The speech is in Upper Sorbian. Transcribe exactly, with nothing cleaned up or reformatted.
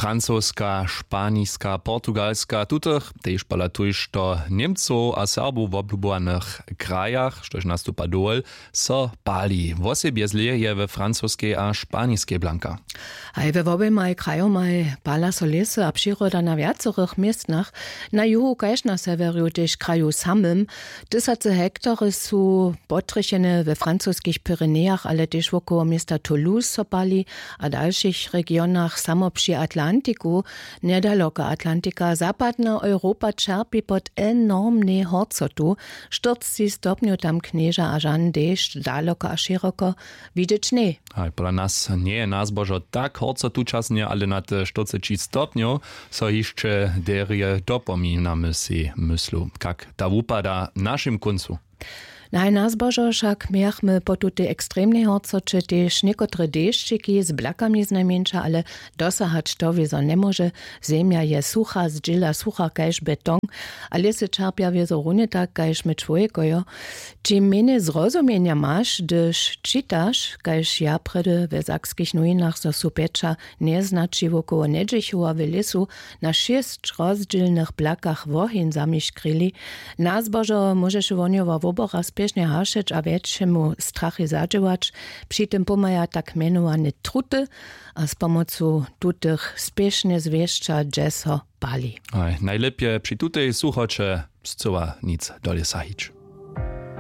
Francoska, španiska, portugalska, tutych tež pola tuž do němcow a serbow woblubowanych krajach štož nastupa dowol, so pali wosebje zlě je we francoskej a španiskej blanka. Haj we woběmaj krajomaj pala so lěsy a přiroda na wjacorych městnach, na juhu kaž na sewjerju tež kraju samym. Tysacy hektary su potrjechene we francoskich pyrenejach ale tež wokoło města toulouse so pali, a w dalšich regionach samo při atlantiku. Njedaloka atlantika zapadna europa ćerpi pod enormnej horcotu. Štyrcci stopnjow tam knježa a žan dešć daloko a šěroko. Widźeć ně. Haj pola nas njeje nazbožo tak horcotučasnje ale nad štyrceći stopnjow, so hišće derje dopominamy sej myslu kak ta wupada w našim kóncu. Najnazbožo wšak mějachmy po tutej ekstremnej horcoće tež někotre dešćiki z blakami znajmjeńša ale dosahać to wězo njemóže. Zemja je sucha zdźěla sucha kaž beton, a lěsy ćerpja wězo runje tak kaž my čłowjekojo. Čim mjenjej zrozumjenja maš hdyž čitaš kaž ja prjedy we sakskich nowinach zo su pjeća njeznaći wokoło njedźechowa w lěsu na šěsć rozdźělnych blakach woheń zamiškrili. Nazbožo móžeše wohnjowa wobora spěšnje hašeć a wjetšemu strachej zadźěłać. Při tym pomhaja tak mjenowane truty, a z pomocu tutych spěšnje zwěsća dźe so pali. Haj najlěpje při tutej suchoće scyła nic do lěsa hić.